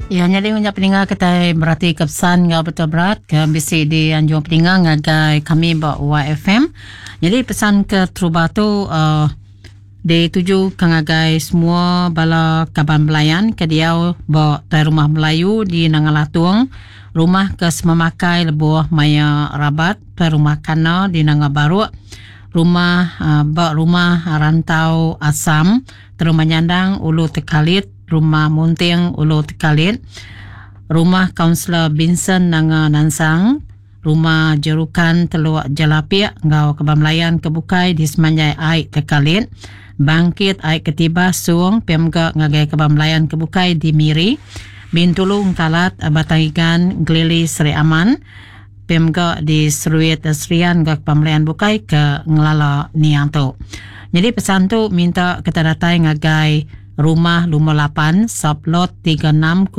Ya nyadi unya peninga kitai berati ke pesan enggau betul berat ke bisi di anjung peninga ngagai kami ba YFM. Jadi pesan ke terubah tu uh, dituju ke ngagai semua bala kaban belayan ke diau ba tai rumah Melayu di Nanga Latung, rumah ke sememakai lebuh maya rabat tai rumah Kana di Nanga Baruk, rumah uh, ba rumah Rantau Asam, Terumah Nyandang Ulu Tekalit, Rumah Munting Ulu Tekalit, Rumah Kaunsilor Binson Nanga Nansang, Rumah Jerukan Teluk Jelapik enggau Kaban Belayan ke bukai di semanjai ai Tekalit, Bangkit Ai Ketibas Suong pia mega ngagai Kaban Belayan ke bukai di Miri, Bintulu Engkalat, Batang Igan, Gelili Sri Aman, pia mega di Seruit Serian enggau Kaban Belayan bukai ke ngelala niang tu. Nyadi pesan tu minta kita datai ngagai Rumah Lumur 8, Sublot 3608,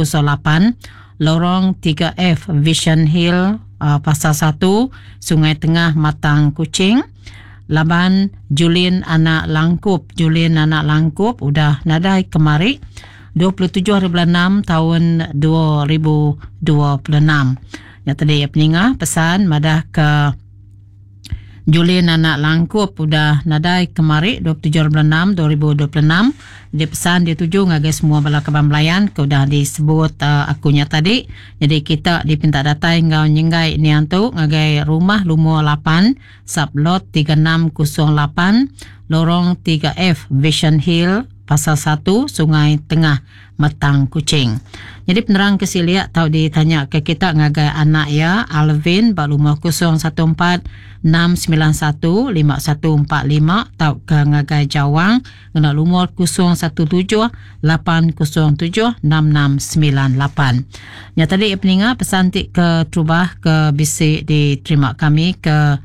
Lorong 3F, Vision Hill, uh, Pasar 1, Sungai Tengah, Matang, Kuching. Laban Julin anak Langkup, Julin anak Langkup udah nadai kemari 27 hari bulan 6 tahun 2026. Nya tadi peninga pesan madah ke Julin anak Langkup udah nadai kemari 27 bulan 6 2026 dipesan dituju ngagai semua bala kaban belayan ke udah disebut uh, aku nya tadi. Jadi kita dipinta datai enggau nyenggai niang tu ngagai rumah lumur 8 sublot 3608 lorong 3F Vision Hill Pasar 1 Sungai Tengah Metang Kuching. Nyadi penerang ke silik tau ditanya ke kita ngagai anak iya Alvin ba lumur 014 691 5145 tauka ngagai Jawang ngena lumur 017 807 6698. Nya tadi peninga pesan ti keterubah ke bisi diterima kami ke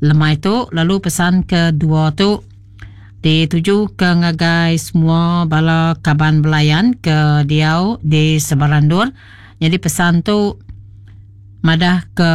lemai tu lalu pesan kedua tu Dituju ke ngagai semua bala kaban belayan ke diau di sebarang endur. Nyadi pesan tu madah ke.